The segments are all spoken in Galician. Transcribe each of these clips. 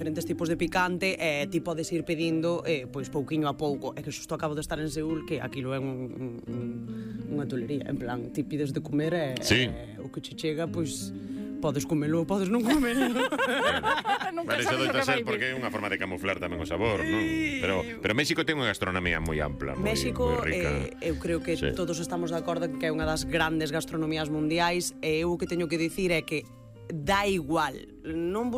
diferentes tipos de picante e ti podes ir pedindo pois pouquiño a pouco. É que xusto acabo de estar en Seúl que aquilo é unha tulería, en plan, ti pides de comer e o que che chega, pois podes comelo ou podes non comelo. Vale, iso doita ser porque é unha forma de camuflar tamén o sabor, non? Pero México ten unha gastronomía moi ampla, México, moi rica. Eu creo que todos estamos de acordo que é unha das grandes gastronomías mundiais e eu o que teño que dicir é que dá igual, non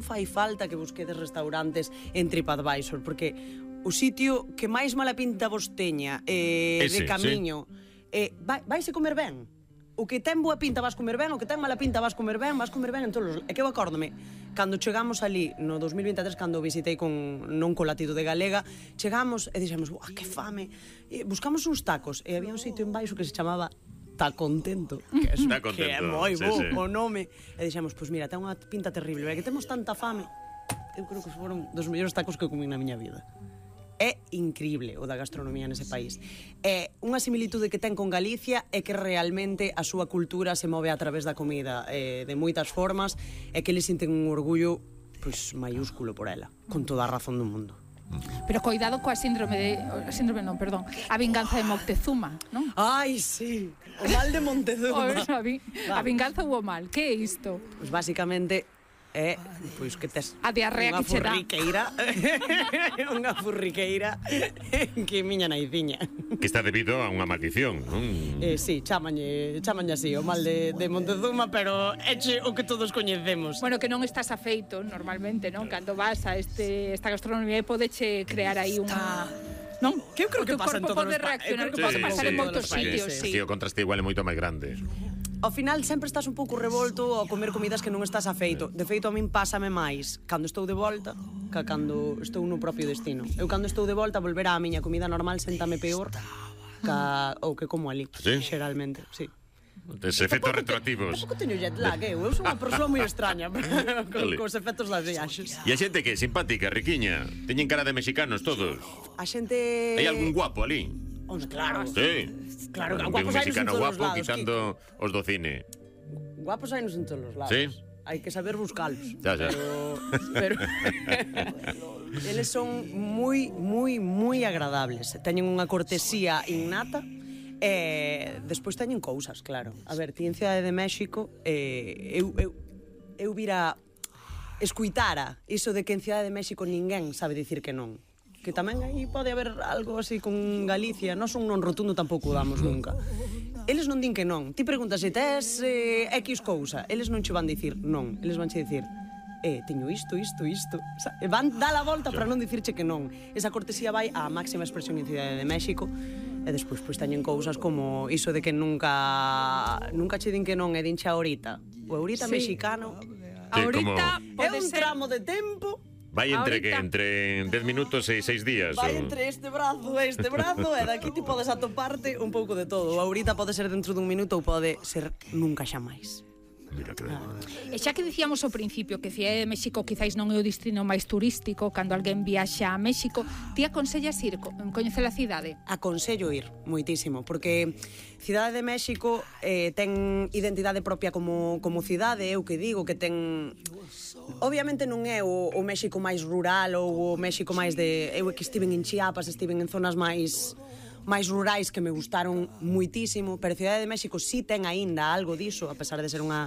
fai falta que busquedes restaurantes en TripAdvisor, porque o sitio que máis mala pinta vos teña de camiño vaise comer ben. O que ten boa pinta vas comer ben, o que ten mala pinta vas comer ben en todos os... É que eu acórdome, cando chegamos ali no 2023, cando visitei non co latido de Galega, chegamos e dixemos, que fame, buscamos uns tacos e había un sitio en baixo que se chamaba Tá Contento, que é moi bo o nome, e dixemos, pois mira, ten unha pinta terrible, é que temos tanta fame. Eu creo que foron dos mellores tacos que comín na miña vida. É increíble o da gastronomía nese país. É unha similitude que ten con Galicia é que realmente a súa cultura se move a través da comida de moitas formas e que eles sinten un orgullo pois maiúsculo por ela, con toda a razón do mundo. Pero coidado coa a vinganza de Moctezuma, non? Ai, sí, o mal de Montezuma. A vinganza ou o mal, que é isto? Pois basicamente é pois que tes a diarrea que che dá unha furriqueira que miña naiciña que está debido a unha maldición, non? Sí, chamañe así, o mal de Montezuma, pero eche o que todos coñecemos. Bueno, que non estás afeito normalmente, non? Cando vas a esta gastronomía podeche crear aí unha... Non? Que eu creo que pasa en todos os países. Que pode pasar en moitos sitios, sí. O contraste igual é moito máis grande. Ao final sempre estás un pouco revolto ao comer comidas que non estás afeito. De feito, a min pásame máis cando estou de volta que cando estou no propio destino. Eu cando estou de volta volver á miña comida normal séntame peor ou que como ali, xeralmente, sí. Tes efectos retroactivos. Tampouco teño jet lag, eu sou unha persoa moi extraña cos efectos das viaxes. E a xente que é simpática, riquiña, teñen cara de mexicanos todos. A xente... Hai algún guapo ali? Claro. Sí. Claro, guapos hai en todos os lados. Quitando os do cine. Guapos hai en todos os lados. Sí. Hai que saber buscalos. Ya. Pero eles son moi agradables. Teñen unha cortesía innata. Despois teñen cousas, claro. A ver, ti en Cidade de México eu vira escuitara iso de que en Cidade de México ninguén sabe dicir que non. Que tamén aí pode haber algo así con Galicia. Nós un non rotundo tampouco damos nunca. Eles non din que non. Ti preguntas se tes X cousa, eles non che van dicir non. Eles van che dicir teño isto. Van dar a volta para non dicirche que non. Esa cortesía vai á máxima expresión en Cidade de México. E despois pois teñen cousas como iso de que nunca che din que non e dinche ahorita. O ahorita mexicano ahorita é un tramo de tempo. Vai entre 10 minutos e 6 días. Vai entre este brazo e daqui ti podes atoparte un pouco de todo. Ahorita pode ser dentro dun minuto ou pode ser nunca xa máis. Mira que E xa que dicíamos ao principio que Cidade de México quizáis non é o destino máis turístico, cando alguén viaxa a México, ti aconsellas ir coñecer a cidade? Aconsello ir moitísimo, porque Cidade de México ten identidade propia como cidade, eu que digo que ten... Obviamente non é o México máis rural ou o México máis de... Eu que estiven en Chiapas, estiven en zonas máis rurais que me gustaron muitísimo, pero Cidade de México sí ten aínda algo diso, a pesar de ser unha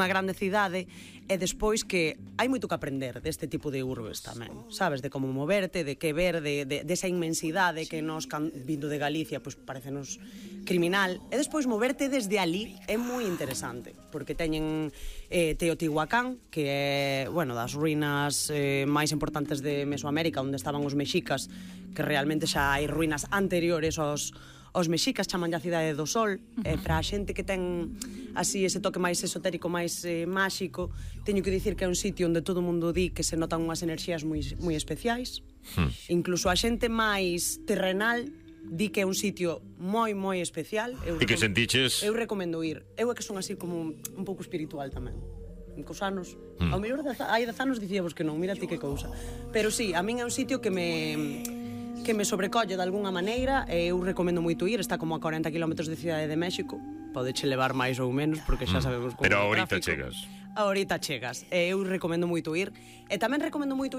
grande cidade, e despois que hai moito que aprender deste tipo de urbes tamén, sabes, de como moverte, de que ver, de esa inmensidade que nos, vindo de Galicia, pois parecenos criminal, e despois moverte desde ali é moi interesante, porque teñen Teotihuacán, que é, bueno, das ruínas máis importantes de Mesoamérica, onde estaban os mexicas, que realmente xa hai ruínas anteriores aos mexicas, chaman a Cidade do Sol. Para a xente que ten así ese toque máis esotérico, máis máxico, teño que dicir que é un sitio onde todo o mundo di que se notan unhas enerxías moi especiais. Incluso a xente máis terrenal di que é un sitio moi especial. E que sentiches? Eu recomendo ir. Eu é que son así como un pouco espiritual tamén. Cos anos, ao mellor hai 10 anos dicíamos que non, mira ti que cousa. Pero sí, a min é un sitio que me sobrecolle de algunha maneira, e eu recomendo moito ir, está como a 40 km de Cidade de México, podeche levar máis ou menos, porque xa sabemos como Pero é o ahorita tráfico. chegas. Ahorita chegas. Eu recomendo moito ir. E tamén recomendo moito